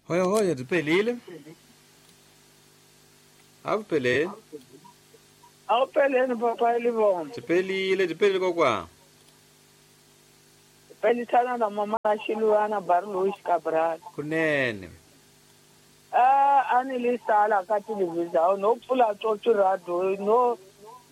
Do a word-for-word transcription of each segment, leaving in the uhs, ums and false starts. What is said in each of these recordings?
Hoya hoya dipelile. Awupelele. Awupelele papa Livongo. Dipelile dipelile kokwa. Pelisana na mama Shiluana Barluis Cabral. Kunene. Ah anilisala ka television no pfula tsotsi radio no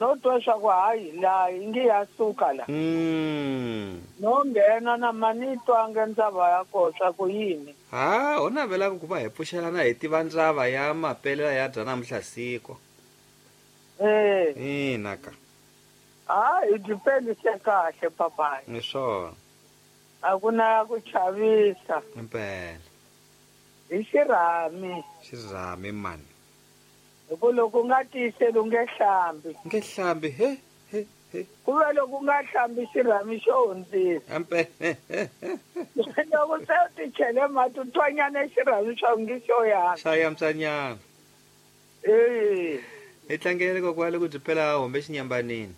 no twa swa ku hayi la ingi ya suka la. Mm. No nghena na manitwa ngendzava ya ko swa ku yini. Ha u navela ku va hi pfuxelana hi tiva ndzava ya mapelela ya dya namuntlha siku. Eh. Ina ka. Ah i dipelise kahle papa. Ni swona. A ku na ku chavisa. Impela. Hi xirhami. Xirhami mani. Hikuva loko u nga tiyiseli u nge hlambi. Nge hlambi he he he. Ku ve loko u nga hlambi xirhami xo hundzisa. Impela. Loko se u ti chele mati u twanyana xirhami xa ngi xo yana. Xa yamsanyana. Eh. Hi tlangele kokwale ku byi pela hombe xinyambanini.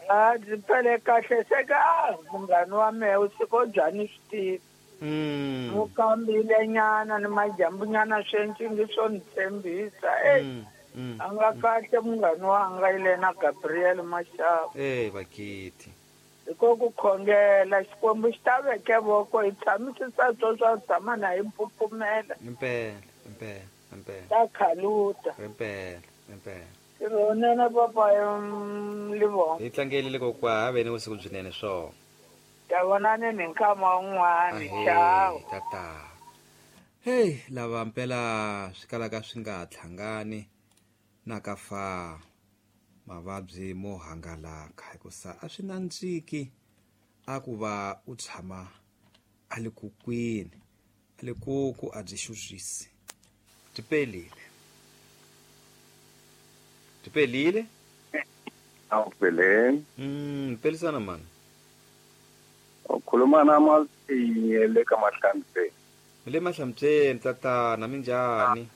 A byi pele kahle se ka munghana wa mehe u tshika u byani swi tivi. Mm. Mukambile nyana ni majambu nyana swi swo ni tshembisa. Eh. Mm. A nga kahle munghana wanga ile na Gabriel Mashava. Eh bakiti. Hiko ku khongela Xikwembu xi ta veke voko hi tshamisisa swo swa tshama na hi mpfupfumela. Impela, impela, impela. Ta khaluta. Impela, impela. Ronene papa Livongo. Hi tlangelile kokwa ha ve ni vusiku byinene swona. Ta vonani ni nkama wun'wani. Ciao. Tata. Hey, lava mpela swi kalaka swi nga tlhangani na ka fa mavabyi mo hangalaka hikusa a swi nandziki a ku va u tshama a le kukwini a le kuku a byi xurhisi. Tipelile. Tipelile? Awupelele. Mm, pelisana mani. Ukhuluma namazinye le ka Mahlamtseni. Le Mahlamtseni tatana minjhani?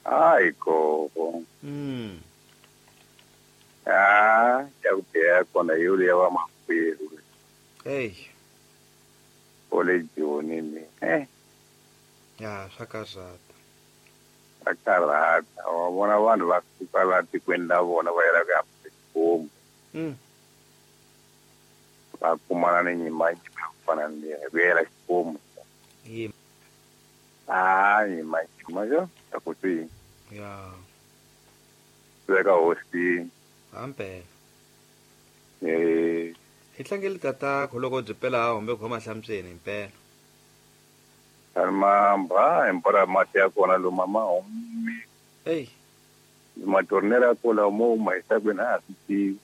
Hayi gogo. Mm. Ah, ya ku biha kona hi yo ya va makwerhu. Hey. Ole Joni ni. Eh. Ya swa karhata. Swa karhata. Wa vona vanhu va suka la tikweni la vona va yela ku ya Limpopo. Mm. Va kumana ni nyimba ku fana ni leyi ku yela Xikwembu. Yim. Ah, nyimba nyimba yo ta ku twi. Ya. Veka hosi. Ampela. Eh. Hi tlangele tata loko byi pela hombe khoma Mahlamtseni impela. Mamba impora mati ya kona lo mama humi. Hey. Matornera kola mo maisakweni a swi tivi.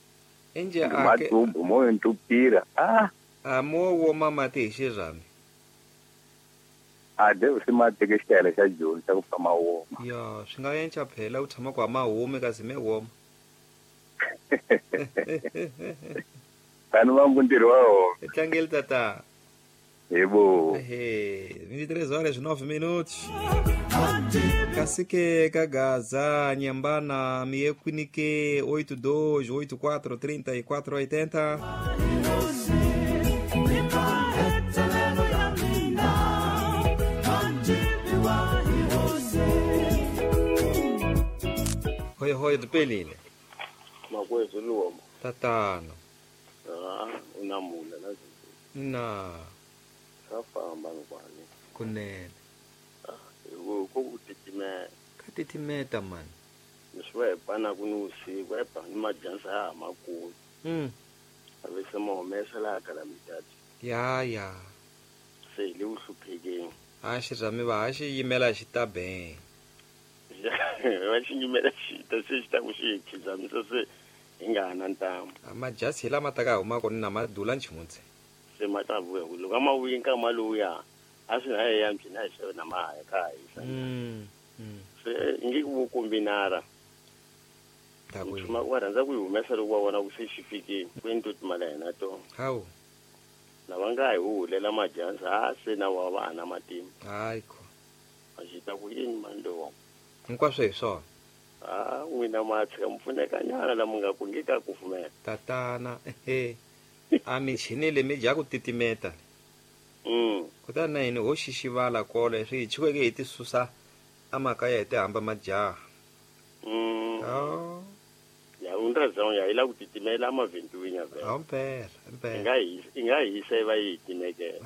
Enje ake Matumbu mo entupira. Ah. A mo woma mati hi xirhami. A de swi ma teke xitayele xa Joni xa ku pfa ma woma. Ya, swi nga yenca phela u tshama ku ma humi kasi me woma. Tani va ntirho wa wona. Hi tlangele tata. Yebo. Ehe, vinte e três horas e nove minutos. Cacique Kagaza, Nhambana, Miequinique, oito dois, oito quatro, trinta e quatro, oitenta. Hoi hoi dipelile. Makwethu luoma. Tatana. Ah, unamula la. Na. Swa famba ngwani. Kunene. Ah, ku ku titimela. Ka titimeta man. Leswi hi pana ku ni usiku hi ba ni majansa ya makulu. Mm. A se mo humesa laha ka la mitatu. Ya ya. Se hi le ku hluphekeni. A xirhami va ha xi yimela xi ta be. Va xi yimela xi ta se xi ta ku xi hi khizamisa se hi nga ha na ntamu. A majasi hi lama ta ka huma kona na madula nchimutse. Se ma ta vuya ku loko a ma vuyi nkama lowuya a swi na ya mbyina hi xave na mahaya ka ha hisa. Mm. Mm. Se nge ku kombinara. Ta ku Nchuma wa rhandza ku yi humesa loko wa vona ku se xi fikile. Ku endli timali ya hina to. Hawu. Lava nga hi hulela majansa a se na wa va na matimba. Hayi ko. A xi ta ku yini mani lowa. Hinkwaswo hi swona. Ah, n'wina ma tshika mi pfuneka nyana la mi nga ku nge ka kufumela. Tatana, ehe. A michini le mi dya ku titimeta. Mm. Kutani na hina ho xixivala kolo swi hi chukeke hi ti susa amakaya hi ti hamba majaha. Mm. Oh, Ya undrazão ya ila ku titimela amavhentuwinya vele. awu mpela, I impela. nga hisa i nga hisa i va yi timekela.